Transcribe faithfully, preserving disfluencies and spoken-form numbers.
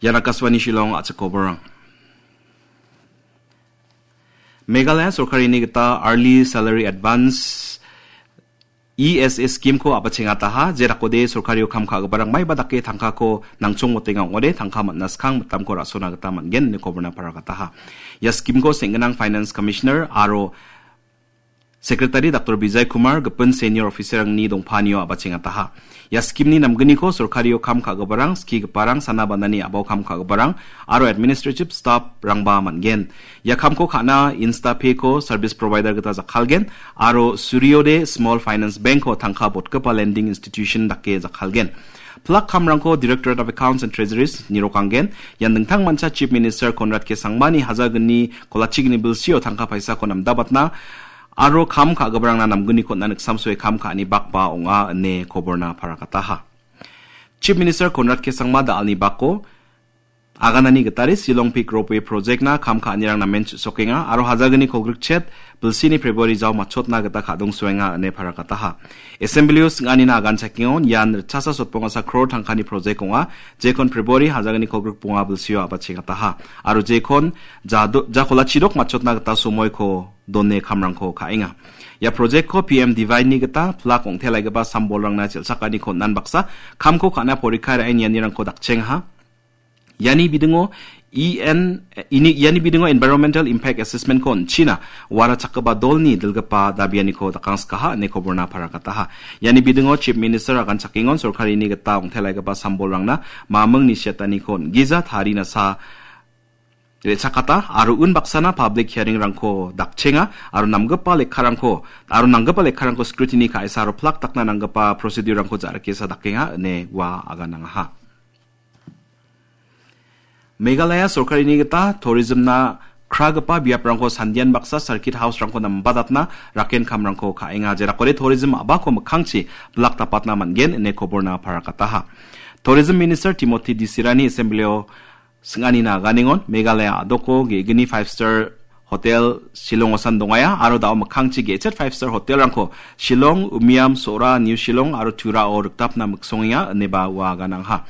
Ian Akashvani Shillong, a·chik koborang. Meghalaya sorkarini gita Early Salary Advance, E S A scheme-ko a·bachengataha, jerakode sorkario kam ka·giparang maiba dake tangkako nangchongmotenga ong·ode, tangka man·a skang mitamko ra·sona gita man·gen ine koborna paragataha. Ia scheme-ko seng·ginang Finance Commissioner aro Secretary Doctor Vijay Kumar gipin senior officer-rangni dongpanio a·bachengataha. Ia scheme-ni namgniko sorkario kam ka·giparang, skigiparang, sana-banani a·bao kam ka·giparang, aro administrative staff-rangba man·gen. Ia kamko ka·na InstaPay-ko service provider gita jakkalgen, aro Suryodaya Small Finance Bank-ko tangka botgipa lending institution dake jakkalgen. Plak kamrangko Directorate of Accounts and Treasuries nirokanggen. Ian dingtangmancha Chief Minister Conrad K Sangmani hajalgni kolachigni bilsio tangka paisako namdabatna aro kam ka·giparangna namgniko on·na niksamsoe kam ka·ani bakba ong·a ine koborna paragataha. Chief Minister Conrad K Sangma da·alni bako aganani gitade Shillong Peak Ropeway Project-na kam ka·anirang namen chu·sokenga aro hajalgni kolgrikchet bilsini February jao matchotna gita kadongsoenga ine paragataha. Assembly-o sing·anina agan chakengon ian ritchasa sotbongasa crore tangkani project ong·a, jekon February hajalgni kolgrikbonga bilsio a·bachengataha. Aro jekon jado-, jakolachi dok matchotna gita somoiko done kamrangko ka·enga. Ia project-ko P M Divine-ni gita plak ong·telaigipa sambolrangna chel·chakaniko on·an baksa kamko ka·na porikka ra·e nianirangko dakchengaha. Iani bidingo E N, ini, iani bidingo Environmental Impact Assessment-ko on·china warachakgipa dolni dilgipa dabianiko dakangskaha ine koborna paragataha. Iani bidingo Chief Minister agan chakengon sorkarini gita ong·telaigipa sambolrangna mamingni siataniko on·gija tarinasa re·chakata aro unbaksana public hearing-rangko dakchenga aro namgipa lekkarangko, aro nanggipa lekkarangko scrutiny ka·esa aro plak dakna nanggipa procedure-rangko ja·rikesa dakenga ine ua aganangaha. Meghalaya sorkarini gita tourism-na kragipa biaprangko sandian baksa circuit house-rangko nambadatna raken kamrangko ka·enga. Jerakode tourism a·bako mikkangchi bilak dapatna man·gen ine koborna paragataha. Tourism Minister Timothy Disirani Assembly-o sing·anina aganengon Meghalaya a·doko ge·gni five star hotel Shillong-osan dongaia aro da·o mikkangchi ge·chet five star hotel-rangko Shillong, Umiam, Sora, New Shillong aro Turao rikdapna miksongenga ineba ua aganangha.